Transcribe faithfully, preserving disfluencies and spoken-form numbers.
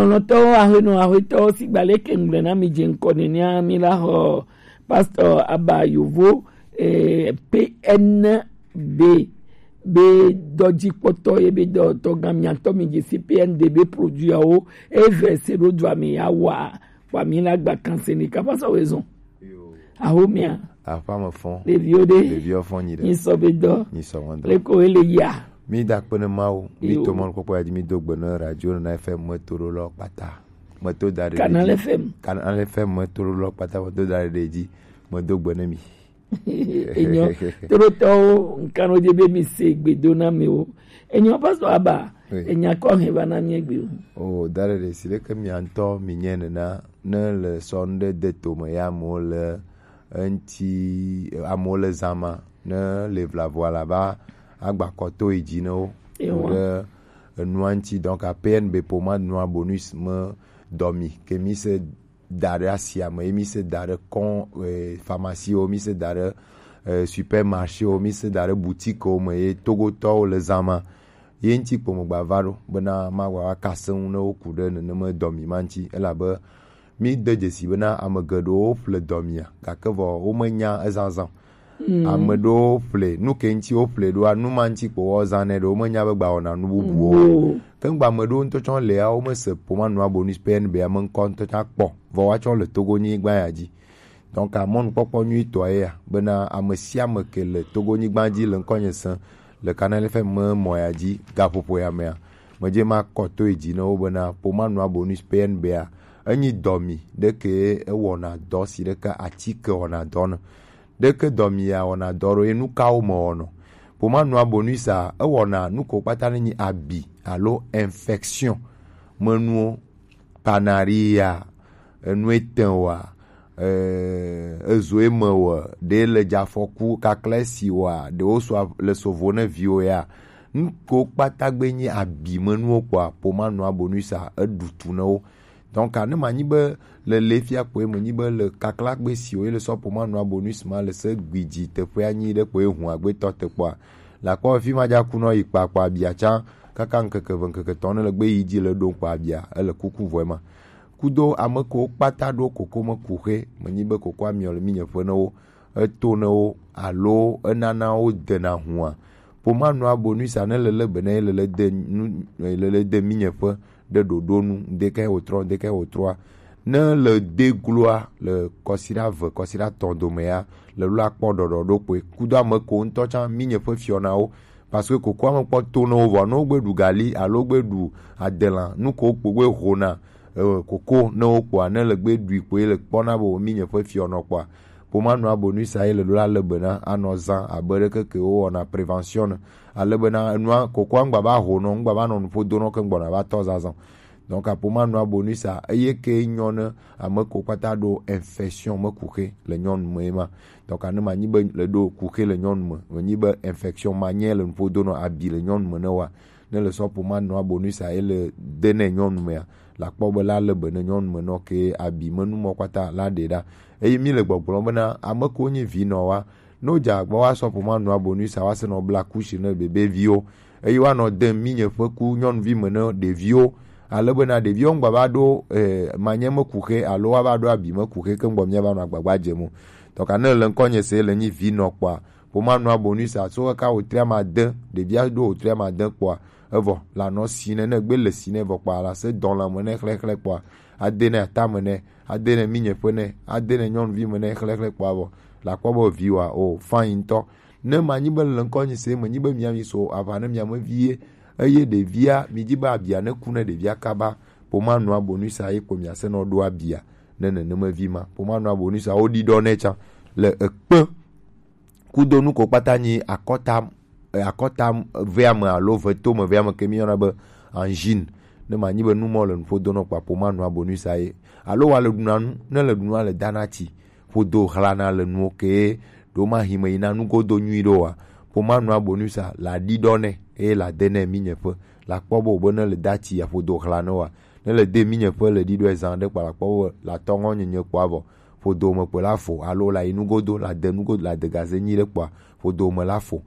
Lɔlɔ̃tɔwo, ahenɔ ahetɔwo, sigba leke ŋgble na mi dze ŋkɔ nenea, mi la xɔ Pastor Aba Yovo, eh, P N B be dɔdzikpɔtɔ ye be dɔtɔ gã miatɔ mi dze si P N D be produit awo eve se ɖo dua mi ya wa wa mi la gba kanse ni kapa sa wezɔn. Aho mia. Aƒea me fɔ. Ɖeviwo ɖe. Ɖeviwo fɔ nyi ɖe. Nyi sɔ be dɔ. Nyi sɔ ŋɔ dɔ. Leko ele ya. Mi da kpe ne Mawu, mi to mɔnukpɔkpɔ ya dzi, mi do gbe ne radio na F M me to ɖo lɔ kpata. Me to da ɖe. Canal F M. Canal F M me to ɖo lɔ kpata, me to da ɖe dzi, me do gbe ne mi. Enyo. Toro tɔwo, nkan wo dze be mi se gbe do na mi wo. Enyo, Pastor Aba, enya kɔ he va na mi egbe o. O, da ɖe si ɖe ke mi ŋutɔ mi nye nena, ne le sɔ nu ɖe de to me ya amewo le eŋti, amewo le zã ma, ne le vlavoa la va agba kɔ to yi dzi ne wo. Ewa. Ɖe enua ŋti, donc, a P N B poma nua bonus me dɔ mi, ke mi se da ɖe asia me, ye mi se da ɖe kɔn, eh, pharmacie wo, mi se da ɖe, eh, supermarché wo, mi se da ɖe boutique wo me, ye Togotɔwo le zã ma. Ye ŋti kpo me gba va ɖo, bena ma gba va kase ŋu ne wo ku ɖe nenema dɔ mi ma ŋti, elabe mi de dzesi bena ame geɖewo ƒle dɔ mia, gake vɔ wo menya ezazã. Mm. Ame ɖewo ƒle, nu ke ŋti wo ƒle ɖoa, nu ma ŋti kpo wo zã nɛ ɖo, wo menya be gba wɔna nu bubuwo. Wo. Ke ŋgba ame ɖewo ŋutɔ tsɔ lea, wo me se poma nua bonus P N B ame ŋkɔ ŋutɔ tsã kpɔ, vɔ woatsɔ le Togo nyigba ya dzi. Donc, a mɔnukpɔkpɔ nyuitɔa ye ya, bena ame sia ame ke le Togo nyigba dzi le ŋkɔnye sẽ le Canal F M me mɔ ya dzi, gaƒoƒo ya mea, medze ma kɔ to yi dzi ne wo bena poma nua bonus P N B a, enyi dɔ mi ɖe ke ewɔna dɔ si ɖe ke atike wɔna dɔ ne. Ɖeke dɔ mi ya wɔna dɔ ɖo ye nu kawo me wɔnɔ. Poma nua bonus a, ewɔna nu ko kpata ne nyi abi alo infection me nuwo. Panaria, enu etɛn wa, eh, ezo eme wa, ɖe le dze afɔku kakla esi wa, ɖe wo so a-, le sovo ne viwo ya. Nu ko kpata gbe nyi abi me nuwo kpɔa, poma nua bonus a, eɖu tu ne wo. Donc, ne manyi be le le fia kpoe menyi be le kakla gbe si wo ye le sɔ poma nua bonus ma le se gbidzi teƒe anyi ɖe kpoe hu agbetɔ te kpɔa. La kpɔ fi ma dza ku nɔ yi kpakpa bia tsã kaka ŋkeke ve ŋkeke tɔn ne le gbe yi dzi le ɖo kpa bia ele kuku vɔe ma. Kudo ame ko kpata ɖo koko me kuxe, menyi be koko amiɔ le mi nye ƒe ne wo, eto ne wo alo enana wo dena hua. Poma nua bonus a ne le le be ne le le de nu, le le de mi nye ƒe ɖe ɖoɖo nu, ŋdeke wòtrɔ, ŋdeke wòtrɔa. Ne le de gloa le kɔsiɖa ve, kɔsiɖa tɔn dome ya, le lo akpɔ ɖɔɖɔ ɖo kpoe. Kudo ame ko ŋutɔ tsã mi nye ƒe fiɔnawo, parce que koko ame kpɔ to ne wo vɔ, ne wo gbe ɖu gali alo gbe ɖu adelã, nu ko kpo gbe hona, eh, koko ne wo kpɔa, ne le gbe ɖui kpoe le kpɔna be wo mi nye ƒe fiɔnɔ kpɔa. Poma nua bonus a ye le lo la le be na anɔ zã abe ɖeke ke wo wɔna prévention ne. Ale bena enua, kokoa ŋgba va ho nɔ, ŋgba va nɔ nuƒo do nɔ ke ŋgbɔna va tɔ zazɔ. Donc, apoma nua bonus a, eye ke nyɔ ne ame ko kpata ɖo infection me kuxe le nyɔnu me ma. Donc, ne manyi be le ɖo kuxe le nyɔnu me, menyi be infection ma nye le nuƒo do nɔ abi le nyɔnu me ne wa. Ne le sɔ poma nua bonus a, ele de ne nyɔnu mea, la kpɔ be la le be ne nyɔnu me nɔ ke abi me nu mɔ kpata la ɖe ɖa. Eye mi le gbɔgblɔ bena ame ko nyi vi nɔ wa, no dza gbɔ wa sɔ poma nua bonus a wa se nɔ bla kushi ne bebe viwo. Eye wa nɔ de mi nye ƒe ku nyɔnuvi me ne ɖeviwo. Ale bena ɖeviwo ŋgba va ɖo, eh, manye me kuxe alo wa va ɖo abi me kuxe ke ŋgbɔ mia va nɔ agbagba dze mo. Donc, ne le ŋkɔ nye se le nyi vi nɔ kpɔa, poma nua bonus a so kaka wotria ma de, ɖevia ɖo wotria ma de kpɔa, evɔ la nɔ si ne, ne gbe le si ne vɔ kpɔa, la se dɔn la me ne xlexle kpɔa, ade ne atame ne, ade ne mi nye ƒe ne, ade ne nyɔnuvi me ne xlexle kpɔa vɔ, la kpɔ be vi wa o, fine ŋutɔ. Ne manyi be le ŋkɔ nyi se, menyi be mia mi so aʋa ne mia me vie, eye ɖevia, mi dzi be abia ne ku ne ɖevia kaba, poma nua bonus a ye kpo mia se nɔ ɖo abia ne neneme vi ma. Poma nua bonus a wo ɖi ɖɔ ne tsã le ekpe kudo nu ko kpata nyi akɔta, eh, akɔta vea me alo veto me vea me ke mi yɔna be angine. Ne manyi be nu mɔ le nuƒo do nɔ kpakpo ma nua bonus a ye. Alo wa le ɖuna nu, ne le ɖunua le dana tsi, ƒodo hlana le nuwo ke ɖo ma hime yina nugodo nyui ɖo wa. Poma nua bonus a la ɖi ɖɔ ne, eye la de ne mi nye ƒe. La kpɔ be o be ne le da tsi ya ƒodo hlana wa. Ne le de mi nye ƒe le ɖi ɖɔ ezan ɖe kpa la kpɔ be la tɔ ŋɔ nyenye kpɔ avɔ. Ƒodo me kpe la fo, alo la yi nugodo, la de nugodo, la de gaze nyi ɖe kpɔa, ƒodo me la fo.